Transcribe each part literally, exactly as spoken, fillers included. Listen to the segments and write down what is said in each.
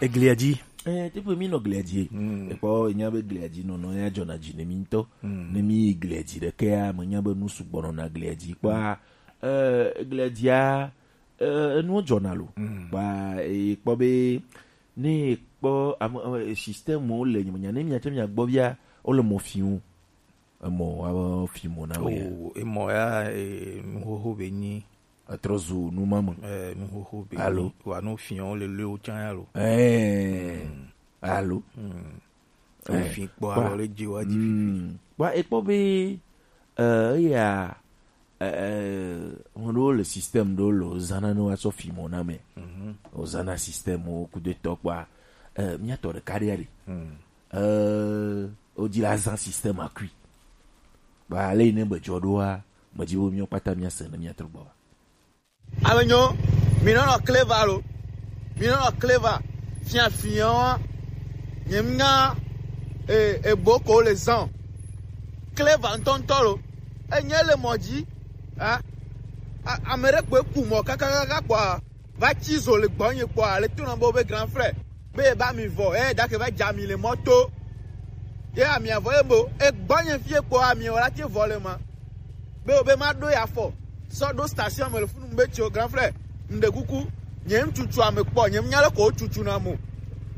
Eglia dzi. Eh, teƒe mi nɔ glia dzi. Mm. Ekpɔ nya be glia dzi nɔnɔ ya dzɔna dzi ne mi ŋutɔ. Mm. Ne mi yi glia dzi ɖekea, me nya be nu sugbɔ nɔna glia dzi. Kpɔa, eh, glia dzia, eh, enuwo dzɔna lo. Mm. Kpɔa, eh, kpɔ be, ne kpɔ ame, eh, système wo le nyemenya, ne miatsɛ miagbɔ bia, wole mɔ fim o. Emɔ wa fi mo na we. Oh, emɔ ya, eh, nuxoxo be nyi. Etrɔ zu nu ma me. Eh, nuxoxo be Alo. Nyi. Wa no fiɔ le le o chan ya lo. Eh. Mm. Alo. Mm. Eh, o fi kpɔ kpɔ. Alo le dzi wa dzi. Mm. Kpɔ, ekpɔ be, eh, eya, eh, eh, ŋun ɖewo le système ɖewo le o zana ne wa tsɔ fi mo na me. Mhm. O zana système wo kudo tɔ kpɔa, eh, miatɔ ɖeka ɖe ya ɖe. Mm. Euh, wodzi la zã système akui. Ba le yi ne be dzɔ ɖoa, medzi be míawo kpata míase ne míatrɔ gbɔ va. Ame nyo, mi nɔnɔ clever lo. Mi nɔnɔ clever. Fia fia wa. Nye ŋa, e, e bo ko le zan. Clever ŋutɔŋutɔ lo. Enye le mɔ dzi. Ha? A-, ame ɖe kpoe ku mɔ kakakaka kpɔa. Va tsi zo le gbɔnye kpɔa, le tona be wobe grand frère, be eba mi vɔ, eh, dake va dza mi le mɔto. Ye amia vɔ ye bo, e gbɔnye fie kpɔa, mi wala te vɔ le ma. Be wobe ma ɖo ya fɔ, sɔ ɖo station me le funu be tso grand frère, ŋɖe kuku, nye ŋtutu ame kpɔ, nye nya le ko tutu na mo.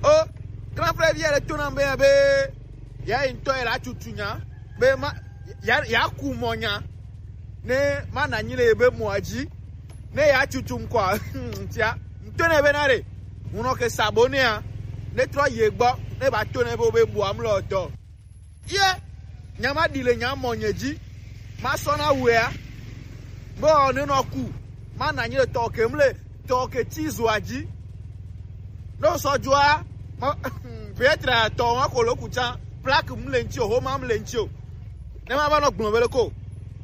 O, grand frère via le tona be, be, ya yi ŋutɔ ye la tutu nya, be ma, ya, ya ku mɔ nya. Ne mana nyi le ebe mɔa dzi, ne ya tutum kɔa, tia, ŋutɔ ne be na ɖe, ŋunɔ ke sabo nea, ne trɔ ye gbɔ, ne ba to ne be, be bua mlɔ dɔ. Ye, nya ma ɖi le nya mɔ nye dzi, ma sɔ na wea, be ɔ ne nɔ ku, mana nyi le tɔ ke mle, tɔ ke ti zoa dzi. Ne wosɔ dzoa, ma, peut-être tɔ ma ko lo ku tsã, plaque mu le ŋuti o, homa mu le ŋuti o. Ne ma va nɔ gblɔ be le ko.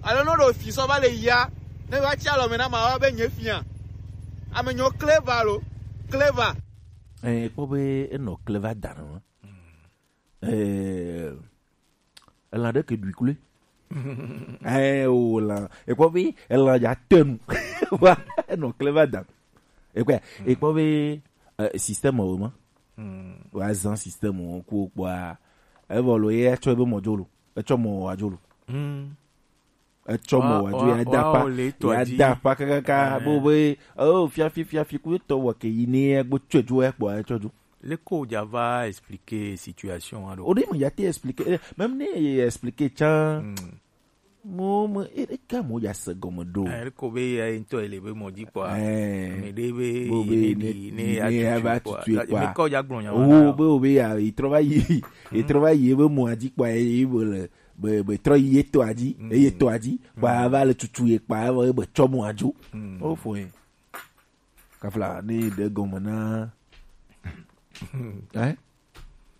Alo ne ɖo fi sɔ va le yia, ne va tsi alɔ me na ma wa be nye fia. Ame nyo clever lo, clever. Eh, kpɔ be enɔ clever da nɔ. Eh, elã ɖe ke ɖui kloe. Eh, o lã. Ekpɔ be elã dza te nu. Wa, enɔ clever da. Ekpɔ, ekpɔ be, eh, système o ma. Wa zan système o ku kpɔa. Evɔ lo ye etsɔ ebe mɔ dzo lo. Etsɔ mɔ wa dzo lo. Etsɔ mɔ wa dzo ya da pa. Ya da pa kakaka. Bo be, oh, fiafi, fiafi, ku etɔ wɔ ke yi ne egbo tsɔe dzo ekpɔ etsɔ dzo. Leke wodza va expliquer situation aɖo? O ɖe me ya te expliquer, eh, même ne ye expliquer tsã. Mo me, e, e ka mo ya se gɔme ɖo? Eh, ko be ya ŋutɔ ele be mɔ dzi kpɔa. Eh. Ame ɖe be bo be ne, ne, ne ya ne ya va tutu kpɔa. Tutu kpɔa. Me kɔ ya gblɔ nya. Oh, be o be ya, e trɔ va yi, e trɔ va yi ebe mɔ dzi kpɔa, e, e be le, be, be trɔ yi etɔ dzi, e etɔ dzi, kpɔa va le tutu ye kpɔa, e be tsɔ mɔ dzo. O fo ye. Kafla, ne ɖe gɔme na. Hein?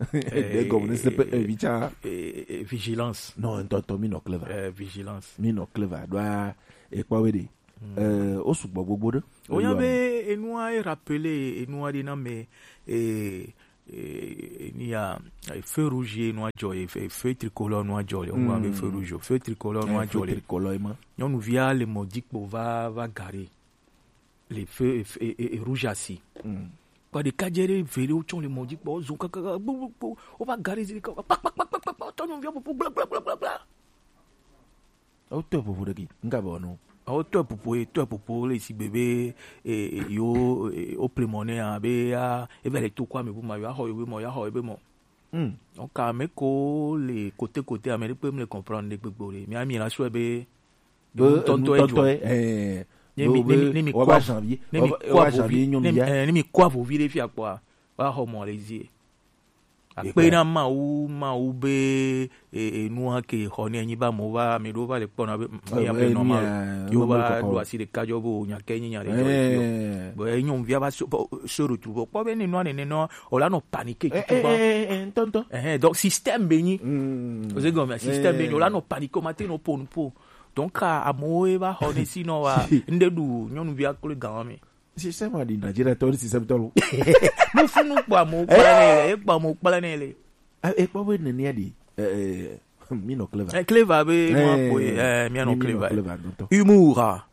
Ɖe gɔme ne sepe evi tsa. Eh, eh, vigilance. Non, ntɔntɔ, mi nɔ clever. Eh, vigilance. Mi nɔ clever. Ɖoa, ekpɔ we ɖe. Eh, o sugbɔ gbogbo ɖe. O nya be enua e rappeler enua ɖe na me, eh, eh, ni ya, eh, feu rouge ye nua dzɔ, eh, feu, feu tricolore nua dzɔ, o nya be feu rouge, feu tricolore nua dzɔ le. Feu tricolore ma. Nyɔnuvia le mɔ dzi kpo va, va garé. Le feu, e, e, e, e rouge asi. Kpa ɖeka dze ɖe ve ɖewo tsɔ le mɔ dzi kpɔ, zo kakaka, gbo, gbo, gbo, wova garé zi ɖeka, kpa, kpa, kpa, tɔ nyɔnuvia ƒoƒo, gbla, gbla, gbla, gbla, gbla. Wotɔe ƒoƒo ɖe ke, ŋka be wòanɔ? Wotɔe ƒoƒo, ye tɔe ƒoƒo le sigbe be, e, e, yo, e, wo ple mɔ nɛ ya, be ya, eva le to kɔ ame bu ma, yo axɔ yo be mɔ, yo axɔ yo be mɔ. Hmm. Donc, ame ko le côté côté, ame ɖe kpe mle comprendre ɖe gbegbe o ɖe. Mia, mi la sɔe be, be ŋutɔŋutɔ ye, eh, ne mi, ne mi, ne mi kɔ janvier, ne mi kɔ janvier nyɔnu ya. Eh, ne mi kɔ avovi ɖe fia kpɔa, wa xɔ mɔ le zie. Akpe na Mawu, Mawu be, e, e, nua ke xɔ ne anyi ba mo va, ame ɖewo va le kpɔna be, mm, mi ya be normal. Yo va ɖo asi ɖeka dzɔ be o nya ke nyi nya ɖe dzɔ le fi o. Be nyɔnuvia va so, so retrouve. Kpɔ be ne nua nene nɔ, o la nɔ paniquer tutuba. Eh, eh, eh, ntɔntɔ. Eh, donc système be nyi. Oze gɔme, système be nyi. O la nɔ paniquer, o ma te nɔ po nu po. Donc, ka amewo ye va xɔ ne si nɔ wa, ŋɖe ɖu nyɔnuvia kple gan me. Système a ɖi Nigeria tɔ, système tɔ lo. Mo funu kpɔ amewo kpla ne le, e kpɔ amewo kpla ne le. Eh, e kpɔ be nenia ɖi, eh, eh, mi nɔ clever. Eh, clever be, eh, mo akpɔ ye, eh, mi anɔ clever. Humour.